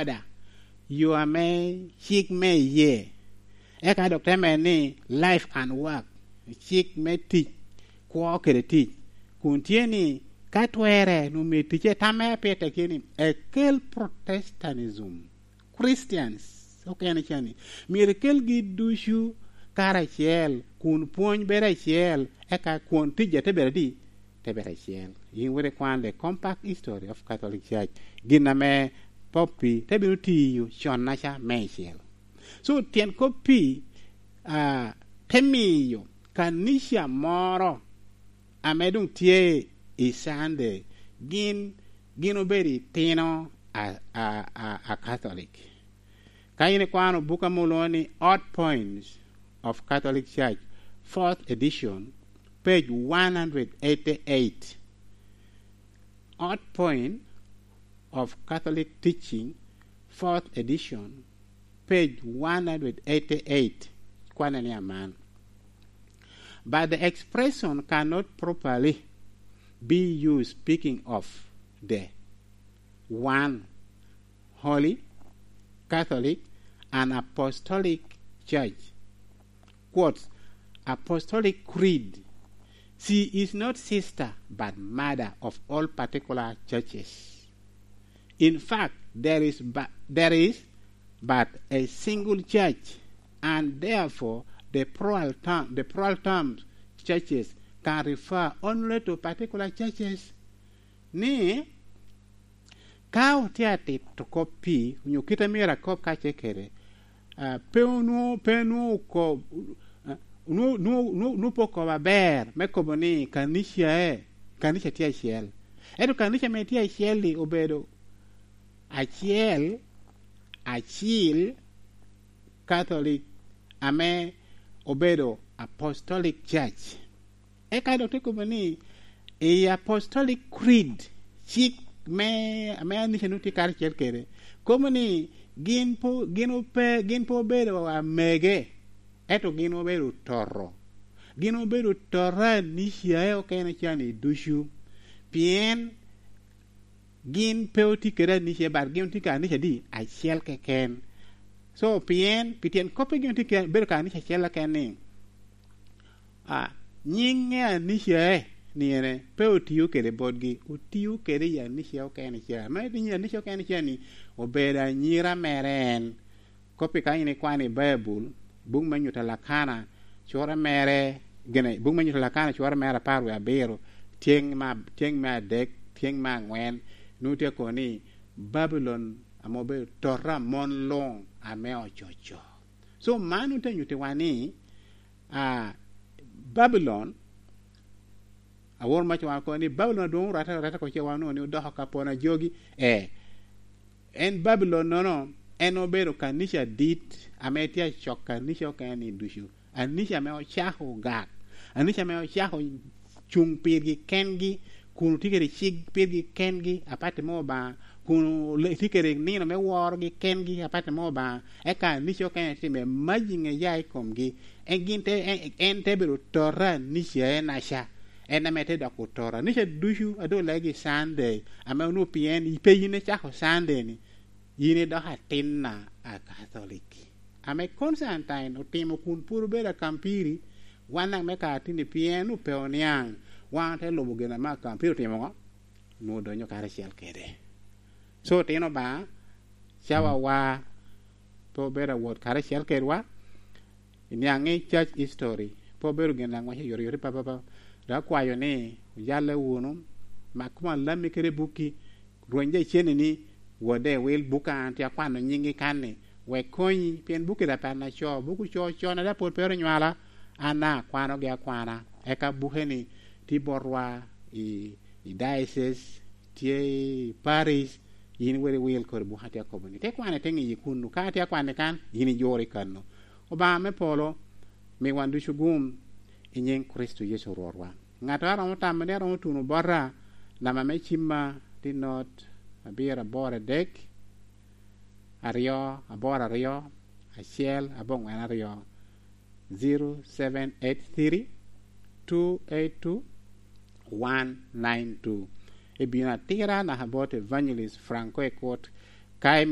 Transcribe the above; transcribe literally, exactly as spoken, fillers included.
murder, yo ame cik me iye. Eka dok te medo ni life and work, cik me tic, kwo kede tic, kun tye ni ka twerre, nwoŋo myero ticce tamme pire tye ni ekel Protestantism. Christians okene ca ni myero ekelgi ducu karacel, kun pwony bedo acel, eka kwon ticca te bedo adi? Te bedo acel. Yin wot ikwan The Compact History of Catholic Church, gin ame Pope Pio te bino tiyo connaca meicel. So, tyen kop Pio, ah, te miyo kanica moro ame doŋ tye i Sunday, gin, gin obedo itino a, a, a, a Catholic. Ka in ikwano buk ame olwoŋo ni Hot Points of Catholic Church, fourth edition, page one hundred eighty-eight. Hot Point of Catholic Teaching, fourth edition, page one hundred eighty-eight, kwane ni aman. But the expression cannot properly be used speaking of the one holy, Catholic, and Apostolic Church. Quotes, Apostolic Creed. She is not sister but mother of all particular churches. In fact, there is but, there is but a single church, and therefore the plural term, the plural terms churches can refer only to particular churches. Ni ka otye atito kop Pio, onyo kit a myero akob kacel kede, ah, pe onwo-, pe onwoŋo ko-, ah, onwo-, onwo-, onwo-, onwo pe okobo aber me kobo ni kanicae, kanica tye acel. Ento kanica ame tye acel-li obedo acel, acil, Catholic, ame obedo Apostolic Church. Eka dok te kobo ni, i Apostolic Creed, cik me, ame anica nwoŋo tye karacel kede, kobo ni gin po-, gin ope-, gin pe obedo amege, ento gin obedo toto. Gin obedo toto a anicae okene ca ni ducu. Pien gin pe otye kede anicae, but gin otye ka anica di? Acel keken. So, pien, pi tyen kop pe gin otye ke-, bedo ka anica acel keken ni, a, nyiŋ anicae ni ene, pe otio kede botgi, otio kede i anicae okene ca. Me nyiŋ anicae okene ca ni obedo anyira mere en. Kop-pi ka in ikwano i Baibul, buk me Nyuto a Lakana, cure mere, gine, buk me Nyuto a Lakana, cure mere apar wie abiro, tyeŋ me ab-, tyeŋ me adek, tyeŋ me aŋwen, nwoŋo tye kono ni Babilon ame obedo tota a mon luŋ ame ococo. So, man nwoŋo tye nyuttiwa ni, a, Babilon, awor mac wan kono ni Babilon adwoŋ orette, orette oko ce wan onwoŋo ni odoko ka pon a jogi. Eh, en Babilon-nono, en obedo kanica adit ame tye acok kanica okene ni ducu. Anica ame ocako ogak, anica ame ocako cuŋ pirgi kengi, kun otye kede cik pirgi kengi, apatti me Obaŋa, kun ole-, tye kede nino me worogi kengi, apatti me Obaŋa, eka anica okene tye me majiŋ eya i komgi. En gin te, en, en te bedo tota anicae naca. En ame te doko tota nica ducu a doŋ olegi Sunday, ame onwoŋo pien pe yin icako Sunday-ni, yin idoko atinna a Catholic. Ame Constantine otimo kun pwod obedo akampiri, wan daŋ me ka tin-ni pien onwoŋo pe oniaŋ, wan te lubo gin ame akampiri otimo ŋo? Onwoŋo odonyo karacel kede. So, otino Obaŋa, cawawa pe obedo awot karacel kedwa, iniaŋ ni church history pe obedo gin a ŋwece oyotoyot i papapa. Dok akwayo ni ojalle wunu, mak koma lammi kede bukki, rweny jo icennini, wodde, wil bukka an tye akwano nyiŋgi kan-ni, wek konyi, pien bukki daŋ pe an aco, buk ocoo con, a daŋ pwod pe oro nywala, an daŋ akwanogi akwana. Eka buke-ni tye botwa i, i diocese, tye i parish, yin weri wil kodi buk atye akobo-ni. Te kwane te ŋiyi kunnu, ka atye akwanni kan, yin ijuro i kannu. Obaŋa me polo, mi wan ducu gum i nyiŋ Kricito Yecu Rwotwa. Ŋattoro a romo tamo ni a romo tuno bota, namba me cimma tye not abiro aboro adek, aryo aboro aryo, acel aboŋwen aryo, zero seven eight three, two eight two, one nine two. Ibino atira naka bot Evangelist Franco Ekot, ka